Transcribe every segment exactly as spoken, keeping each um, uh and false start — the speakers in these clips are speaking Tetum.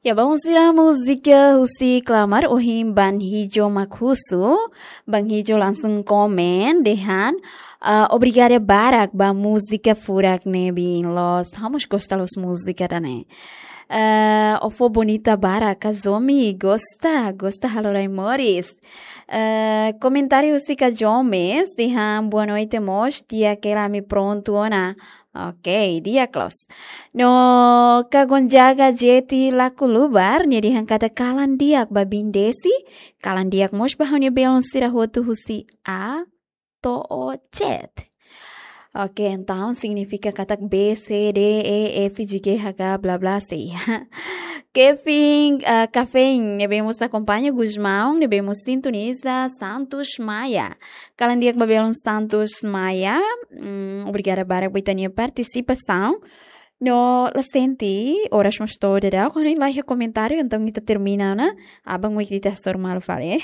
Ya, balun sira, múzika husi Klamar ohin Ban Hijo mak husu. Ban Hijo langsung komen dehan, ah, obrigada barak ba múzika furak ne'ebé loos. Ha'u mós gosta loos múzika ida-ne'e. Ah, o fó bonita barak, Kazomi, gosta, gosta halo rai moris. Ah, komentáriu husi Kajomi, dehan boa noite mós, di'ak hela ami prontu ona. Ok, di'ak loos. No Kagonjaga Jeti la kulubar, nia dehan katak kalan di'ak ba Biin Desi, kalan di'ak mós ba ha'u-nia belun sira hotu husi A to'o Z. Ok, entaun signifika katak B, C, D, E, F, G, H, K, bla, bla, sei. Kevin, ah, Kevin, ne'ebé mós akompaña, Gusmão, ne'ebé mós sintoniza, Santos Maia. Kalan di'ak ba belun Santos Maia. Hmm, obrigada barak ba ita-nia partisipasaun. No la sente, oras mós to'o daudaun, ha'u-nia la iha komentáriu, entaun ita termina ona. Aban-bainrua ita hasoru malu fali, eh.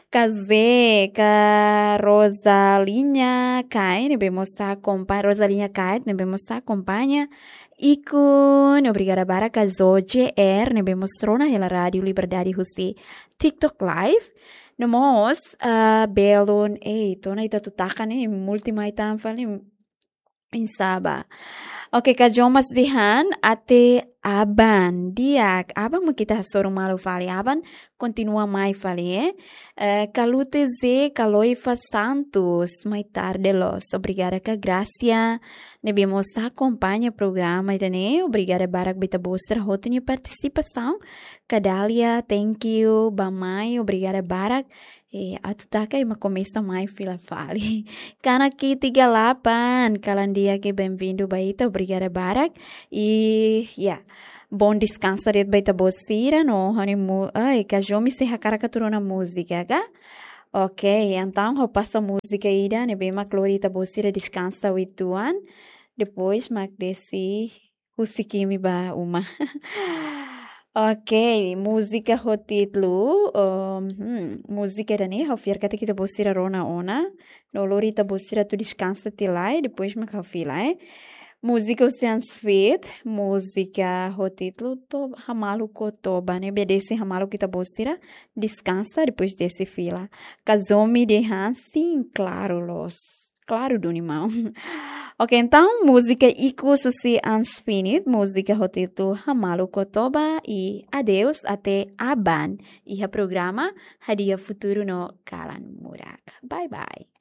Kazé, ka Rosalinha Kai, ne'ebé mós akompaña, Rosalinha Kai, ne'ebé mós akompaña. Ikun, obrigada barak, ka Zo J R, ne'ebé mós rona hela Rádiu Liberdade husi TikTok Live. No mós, ah, belun, ei, to'o ona ita tutaka ne'e, multi mai tan fali, insaba. Ok, ka Jomas dehan, até aban, di'ak, aban mak ita hasoru malu fali, aban kontinua mai fali, eh. Eh, ka Lute Ze, ka Loifa Santos, mai tarde loos. Obrigada, ka Gracia, ne'ebé mós akompaña programa ida-ne'e. Obrigada barak ba ita-boot sira hotu nia partisipasaun. Ka Dália, thank you, bá mai, obrigada barak. Eh, atu taka ema komesa mai fila fali. Kanaki tiga delapan, kalan di'ak, bem-vindo ba ita, obrigada barak. I, ya, bom descanso de'it ba ita-boot sira, no ha'u-nia mu-, ai, Kajomi sei hakarak atu rona múzika, ka? Ok, entaun ha'u pasa múzika ida, ne'ebé mak lori ita-boot sira deskansa uitoan. Depois mak Desi husik imi ba uma. Ok, múzika ho títulu, um, hmm, múzika ida-ne'e ha'u fiar katak ita-boot sira rona ona, no lori ita-boot sira atu deskansa tiha lai, depois mak ha'u fila, eh. Múzika husi Ansfit, múzika ho títulu To-, Hamaluk ho Toba, ne'ebé Desi hamaluk ita-boot sira, deskansa, depois Desi fila. Kazomi dehan, sim, claro, loos. Klaru duni maun. Ok, entaun, múzika ikus husi Ansfit, múzika ho títulu Hamaluk ho Toba, i adeus, até aban. Iha programa Hadi'a Futuru no Kalan Murak. Bye bye.